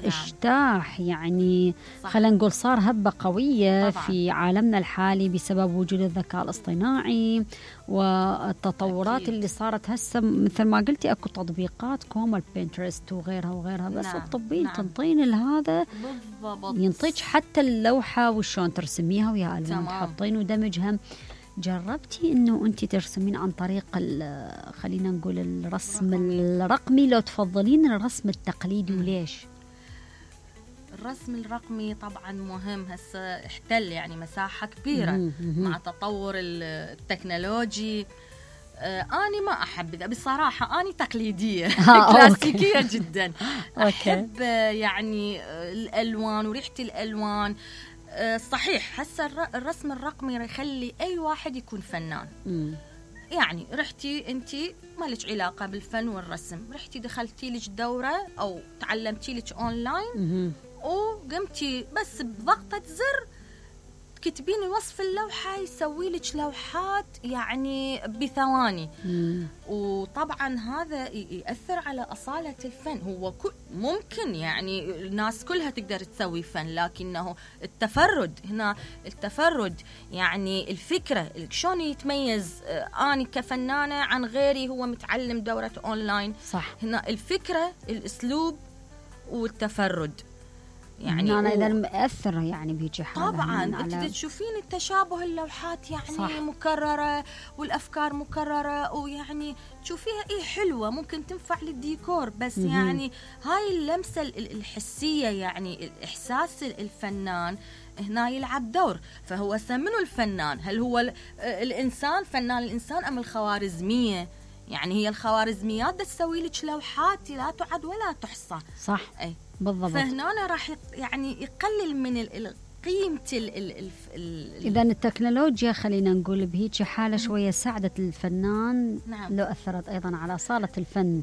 اجتاح يعني خلينا نقول صار هبة قوية طبعاً في عالمنا الحالي بسبب وجود الذكاء الاصطناعي والتطورات أكيد. اللي صارت هسه مثل ما قلتي اكو تطبيقات كوم البنترست وغيرها وغيرها بس تطبين تنطين هذا ينطيك حتى اللوحة وشون ترسميها ويا ألوان تحطين ودمجها. جربتي انه انت ترسمين عن طريق خلينا نقول الرسم الرقمي لو تفضلين الرسم التقليدي وليش؟ الرسم الرقمي طبعا مهم، هسه احتل يعني مساحة كبيرة مع تطور التكنولوجي. أنا ما أحب بصراحة، أنا تقليدية كلاسيكية جدا. أحب يعني الألوان وريحة الألوان. صحيح هسه الرسم الرقمي يخلي أي واحد يكون فنان. يعني رحتي أنت ما لك علاقة بالفن والرسم، رحتي دخلتي لك دورة أو تعلمتي لك أونلاين وقمتي بس بضغطة زر تكتبين وصف اللوحة يسوي لك لوحات يعني بثواني. وطبعا هذا يأثر على أصالة الفن. هو ممكن يعني الناس كلها تقدر تسوي فن، لكنه التفرد هنا، التفرد يعني الفكرة شلون يتميز أنا كفنانة عن غيري هو متعلم دورة أونلاين. صح. هنا الفكرة، الأسلوب والتفرد يعني أنا إذا مأثر يعني بيجي حالة طبعا أنت تشوفين التشابه، اللوحات يعني صح. مكررة والأفكار مكررة، ويعني تشوفيها حلوة ممكن تنفع للديكور بس يعني هاي اللمسة الحسية يعني الإحساس الفنان هنا يلعب دور. فهو منو الفنان؟ هل هو الإنسان فنان الإنسان أم الخوارزمية؟ يعني هي الخوارزميات تسوي لك لوحات لا تعد ولا تحصى. صح. أي بالضبط. فهنا راح يعني يقلل من قيمة إذا التكنولوجيا خلينا نقول بهيك حالة شوية ساعدت الفنان. نعم. لو أثرت أيضا على صالة الفن.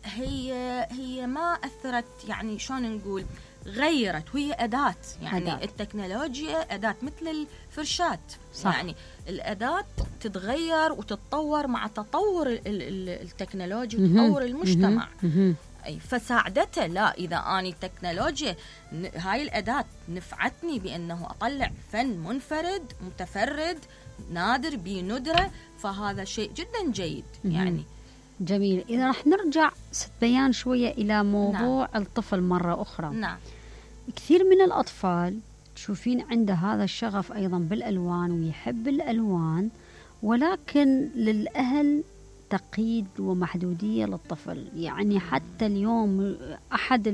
هي ما أثرت يعني شلون نقول، غيرت، وهي أداة يعني أداة. التكنولوجيا أداة مثل الفرشات. صح. يعني الأداة تتغير وتتطور مع تطور التكنولوجيا وتطور المجتمع. فساعدته. لا إذا أنا التكنولوجيا هاي الأداة نفعتني بأنه أطلع فن منفرد متفرد نادر بندرة، فهذا شيء جدا جيد. يعني جميل. إذا رح نرجع ست بيان شوية إلى موضوع نعم. الطفل مرة أخرى. نعم. كثير من الأطفال تشوفين عنده هذا الشغف أيضا بالألوان ويحب الألوان، ولكن للأهل تقييد ومحدودية للطفل. يعني حتى اليوم أحد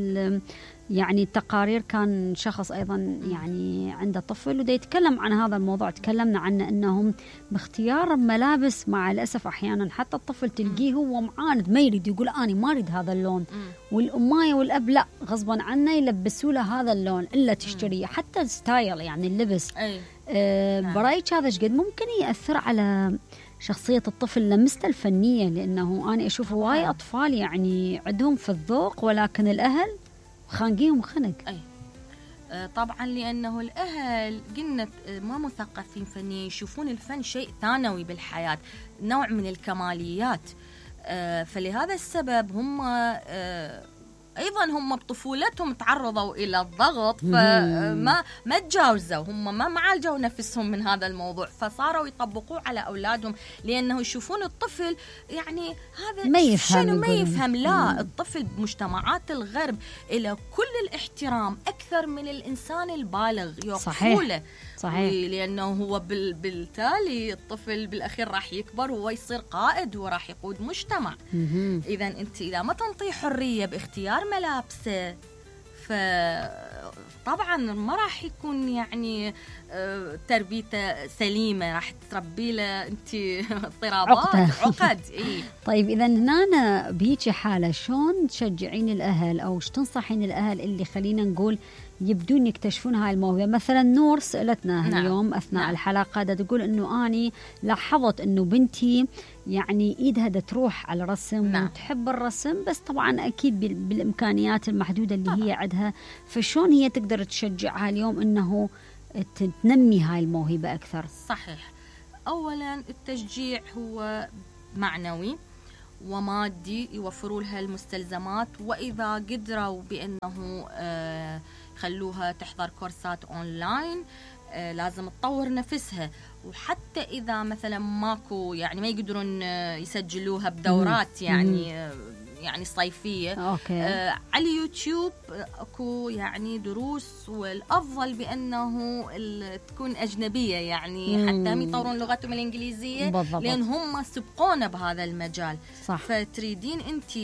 يعني التقارير كان شخص أيضا يعني عنده طفل وده يتكلم عن هذا الموضوع، تكلمنا عنه أنهم باختيار ملابس مع الأسف أحيانا حتى الطفل تلقيه هو معاند ما يريد، يقول أنا ما أريد هذا اللون، والأماية والأب لا غصبا عنه يلبسوا له هذا اللون إلا تشتريه. حتى الستايل يعني اللبس. برأيك هذا شقد ممكن يأثر على شخصية الطفل لمسته الفنية؟ لأنه أنا أشوف هواي أطفال يعني عندهم في الذوق ولكن الأهل خانقيهم خنق. طبعا لأنه الأهل قلنا ما مثقفين فنيا، يشوفون الفن شيء ثانوي بالحياة، نوع من الكماليات. فلهذا السبب هم أيضا هم بطفولتهم تعرضوا إلى الضغط، فما تجاوزوا، هم ما عالجوا نفسهم من هذا الموضوع، فصاروا يطبقوه على أولادهم لأنه يشوفون الطفل يعني هذا ما يفهم. لا، الطفل بمجتمعات الغرب إلى كل الاحترام أكثر من الإنسان البالغ يقفوله. صحيح. لأنه هو بالتالي الطفل بالأخير راح يكبر وهو يصير قائد وراح يقود مجتمع. إذا أنت إذا ما تنطي حرية باختيار ملابسه فطبعا ما راح يكون يعني تربيته سليمة، راح تربي له أنت اضطرابات عقد. طيب إذا هنا بيجي حالة شون تشجعين الأهل أو شو تنصحين الأهل اللي خلينا نقول يبدون يكتشفون هاي الموهبة؟ مثلا نور سألتنا اليوم أثناء الحلقة تقول أنه أني لاحظت أنه بنتي يعني إيدها تروح على الرسم وتحب الرسم، بس طبعا أكيد بالإمكانيات المحدودة اللي هي عندها، فشون هي تقدر تشجعها اليوم أنه تنمي هاي الموهبة أكثر؟ صحيح. أولا التشجيع هو معنوي، ومادي يوفروا لها المستلزمات، وإذا قدروا بأنه خلوها تحضر كورسات أونلاين لازم تطور نفسها. وحتى إذا مثلا ماكو يعني ما يقدرون يسجلوها بدورات يعني صيفية، على اليوتيوب اكو يعني دروس، والافضل بانه تكون اجنبيه يعني حتى هم يطورون لغتهم الانجليزيه بالضبط. لان هم سبقونا بهذا المجال. صح. فتريدين انت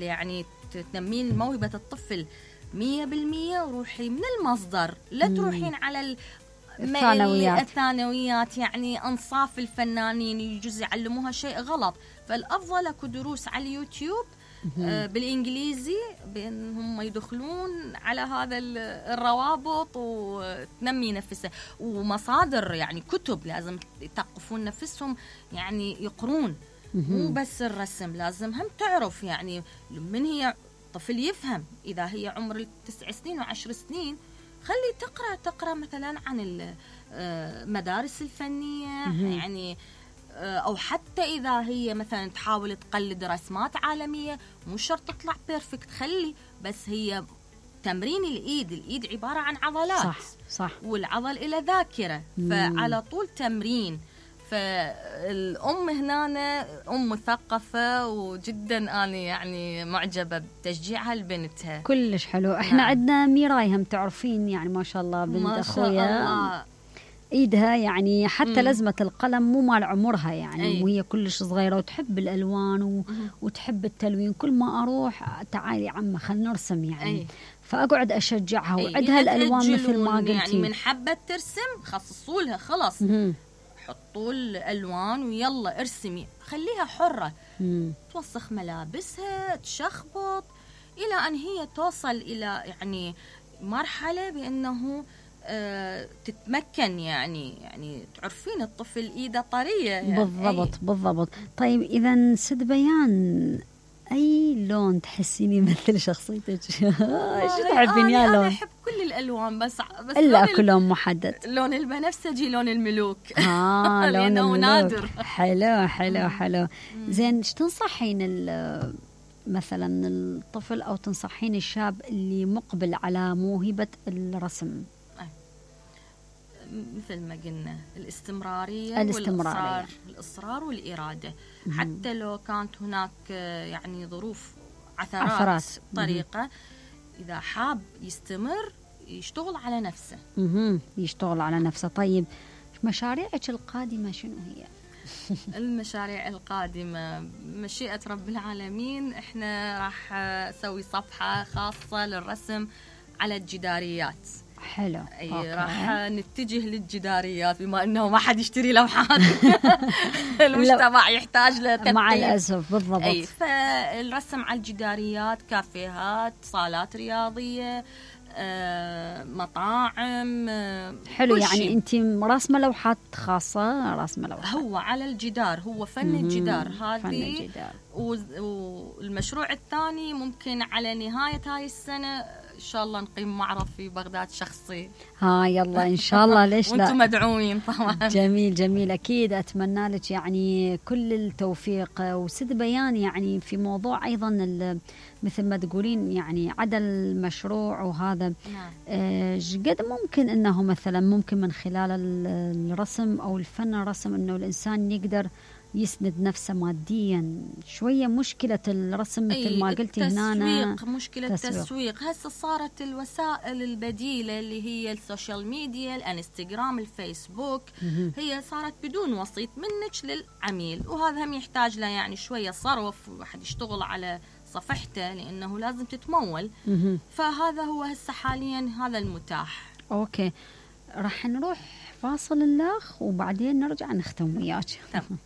يعني تنمين موهبه الطفل 100%، وروحي من المصدر، لا تروحين على الثانويات يعني انصاف الفنانين يجوز يعلموها شيء غلط. فالافضل اكو دروس على اليوتيوب بالإنجليزي بأنهم يدخلون على هذا الروابط وتنمي نفسها. ومصادر يعني كتب لازم يثقفون نفسهم، يعني يقرون، مو بس الرسم، لازم هم تعرف يعني من هي طفل يفهم. إذا هي عمر 9 سنين و10 سنين خلي تقرأ مثلا عن المدارس الفنية يعني، أو حتى إذا هي مثلا تحاول تقلد رسمات عالمية مو شرط تطلع بيرفكت، خلي بس هي تمرين الإيد عبارة عن عضلات. صح. والعضل إلى ذاكرة، فعلى طول تمرين. فالأم هنا أم مثقفة، وجدا أنا يعني معجبة بتشجيعها لبنتها. كلش حلو. احنا عندنا ميراي هم تعرفين يعني ما شاء الله بنت أخويا ايدها يعني حتى لزمة القلم مو مال عمرها يعني، وهي كلش صغيرة وتحب الألوان وتحب التلوين. كل ما أروح تعالي عمّا خلنا نرسم يعني. فأقعد أشجعها وعدها الألوان مثل ما قلتي يعني من حبة ترسم خصصوا لها خلاص، حطوا الألوان ويلا ارسمي، خليها حرة توسخ ملابسها، تشخبط، إلى أن هي توصل إلى يعني مرحلة بأنه تتمكن يعني تعرفين الطفل إيده طرية يعني. بالضبط. طيب إذا سد بيان، أي لون تحسيني مثل شخصيتك؟ شو تحبين يا لون؟ أنا أحب كل الألوان بس إلا أكو لون محدد. لون البنفسجي، لون الملوك. لون لأنه نادر. حلو. زين، ايش تنصحين مثلا الطفل أو تنصحين الشاب اللي مقبل على موهبة الرسم؟ مثل ما قلنا الاستمرارية. والإصرار والإرادة. حتى لو كانت هناك يعني ظروف عثرات طريقة، إذا حاب يستمر يشتغل على نفسه. طيب مشاريعك القادمة شنو هي؟ المشاريع القادمة مشيئة رب العالمين، احنا راح نسوي صفحة خاصة للرسم على الجداريات. حلو. راح نتجه للجداريات بما انه ما حد يشتري لوحات. المجتمع يحتاج لتثقيف مع الاسف. بالضبط. فالرسم على الجداريات، كافيهات، صالات رياضيه، مطاعم. حلو. يعني انت راسمه لوحات خاصه؟ راسمه لوحات هو على الجدار، هو فن الجدار هذه. والمشروع الثاني ممكن على نهايه هاي السنه إن شاء الله نقيم معرض في بغداد شخصي. يلا إن شاء الله. ليش لا؟ وانتم مدعوين طبعا. جميل أكيد. أتمنى لك يعني كل التوفيق. وسد بيان يعني في موضوع أيضا مثل ما تقولين يعني عدا المشروع وهذا، قد ممكن أنه مثلا ممكن من خلال الرسم أو الفن الرسم أنه الإنسان يقدر يسند نفسه ماديا شوية. مشكلة الرسم مثل ما قلتي هنا مشكلة التسويق. هسه صارت الوسائل البديلة اللي هي السوشيال ميديا، الانستغرام، الفيسبوك، هي صارت بدون وسيط منك للعميل، وهذا هم يحتاج له يعني شوية صرف، وواحد يشتغل على صفحته لأنه لازم تتمول. فهذا هو هسه حاليا هذا المتاح. أوكي، راح نروح فاصل الأخ وبعدين نرجع نختم وياك. تمام.